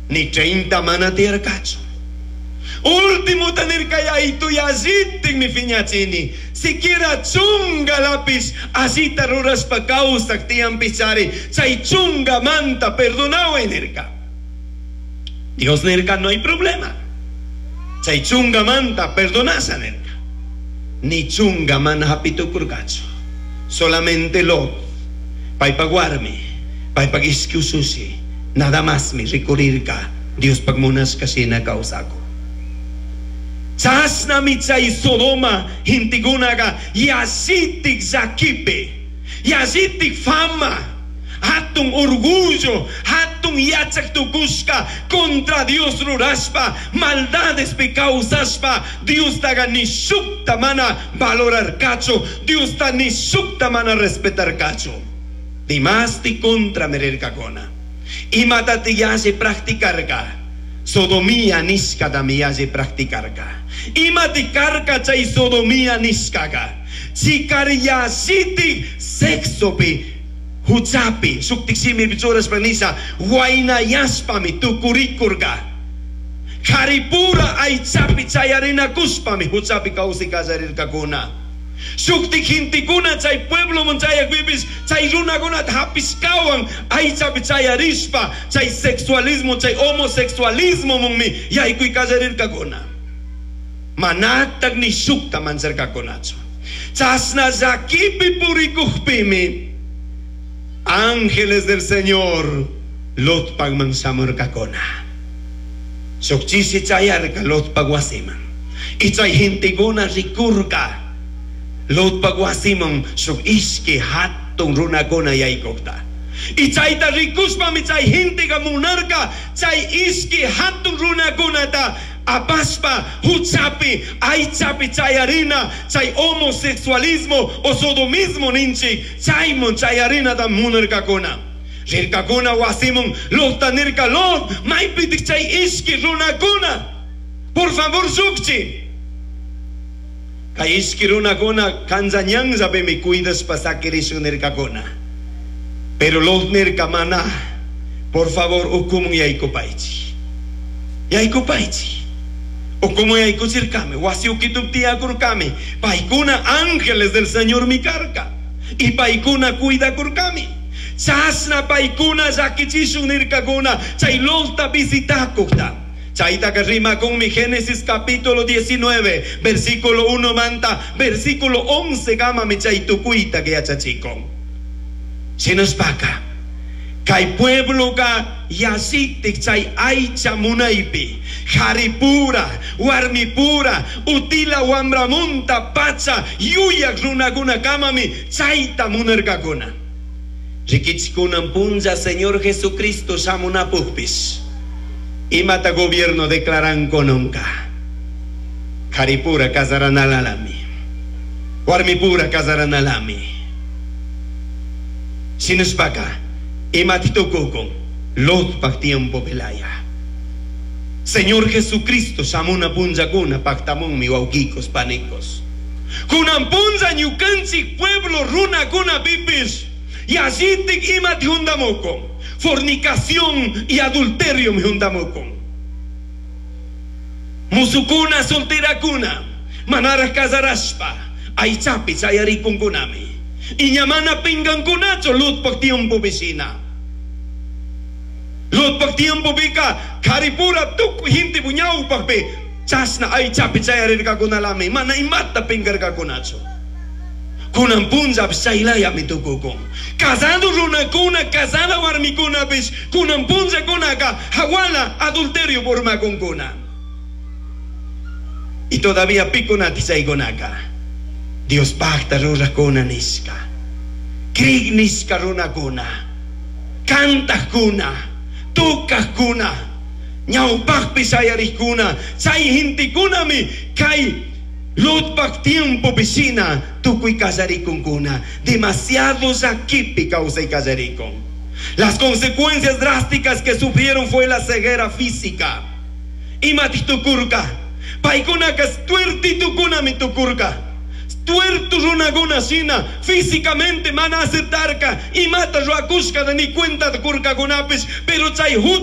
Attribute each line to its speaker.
Speaker 1: Ni 30 mana tiyarkachu. Ultimuta nirka yaytu yallitikmi piñachini. Siquiera chungalapis allita rurashpa kawsak tiyanpichari chay chungamanta perdonaway nirka. Dios nirka no hay problema. Chay chungamanta perdonasha nirka. Ni chunga mana hapitukurkachu. Solamente Lot, paypak warmi, paypak ishki ushushi, nada más mi rikurirka Diospaj munashka shina kawsakun. Chashnami chay Sodoma gentekunaga yallitik llakipi, yallitik fama, hatun orgullo, hatun yachak tukushka contra Dios rurashpa, maldadespi kawsashpa, Diostaga ni shukta mana valorarkachu, Diosta ni shukta mana respetarkachu. Dimasti contra mirirkakuna. Imatati yalli practicarka. Sodomía nishkatami yalli practicarka. Imati karka chay sodomía nishkaka. Chikariyashiti sexopi huchapi shuktik shimipi churashpa nisha waynayashpami tukurikurka. Karipura aychapi chayarinakushpami huchapi kawsay kallarirkakuna. Shuktik gentekuna chay puebloman chayakpipis chay runakunata hapishkawan aychapi chayarishpa chay sexualismo chay homosexualismomanmi yaykuy kallarirkakuna. Manatak ni shukta mancharkakunachu. Chashna llakipi purikukpimi ángeles del Señor Lotpagman shamurkakuna. Shuk chishi chayarka Lotpag wasiman. Y chay gentekuna rikurka Lotpag wasiman shuk ishki hatun runakuna yaykukta. Y chayta rikushpami chay genteka munarka chay ishki hatun runakunata apashpa huchapi aychapi chayarina chay homosexualismo o sodomismo ninchik chayman chayarinata munarkakuna. Rirkakuna wasiman Lotta nirka Lot maypitik chay ishki runakuna. Por favor llukchi. Kay ishki runakuna kanlla ñanllapimi cuidashpa sakirishun nirkakuna. Pero Lot nirka mana, por favor ukumun yaykupaychik. Yaykupaychik. Ukumun yaykuchirkami, wasi ukitup tiyakurkami, paykuna ángeles del Señor mi karka. Y paykuna cuidakurkami. Chashna paykuna llakichishun nirkakuna, chay Lotta visitakukta. Chaytaka rimakunmi Génesis capítulo 19, versículo 1 manta, versículo 11 kamami chay tukuyta que yachachikun. Shinashpaka, kay puebloka yallitik chay aycha munaypi, jaripura, warmipura, utila wambramunta pacha, yuyak runakuna kamami chayta munarkakuna. Rikichikunan punlla Señor Jesucristo shamunapukpis. Imata gobierno declaran nunca. Jaripura casaranalami. Warmipura casaranalami. Shinashpaka, imati tukukun, Lotpak tiempo pelaya. Señor Jesucristo shamuna punllakuna paktamunmi wawkikos panikos. Kunan punlla ñukanchik pueblo runakuna pipis. Yallitik imati hundamukun. Fornicación y adulterio mi hundamukun. Musukuna solterakuna, manara casarashpa, aychapi chayarikunkunami. Iñamana pingankunachu Lotpak tiempo vecina. Lotpak tiempo pika, karipura tukuy gente puñawpakpi, chashna aychapi chayarirkakunalami, mana imata pingarkakunachu. Kunan punlla chaylayami tukukun. Casado runakuna, casada warmikunapish, kunan punllakunaka, hawala adulterio urmakunkuna. Y todavía pikunati chaykunaka. Dios pacta rurakuna nishka. Krik nishka runakuna. Kantakuna. Tukakuna. Ñawpakpi shayarikuna. Chay gentekunami kay Lotpak tiempo vecina tukuy kallarikunkuna. Demasiado llakipi kawsay kallarikun. Las consecuencias drásticas que sufrieron fue la ceguera física. Imati tukurka. Paykunaka tuertitukunami tukurka. Tuertu runakuna shina físicamente mana aceptarka imata ruakushka ni cuenta kurkakunapis, pero chay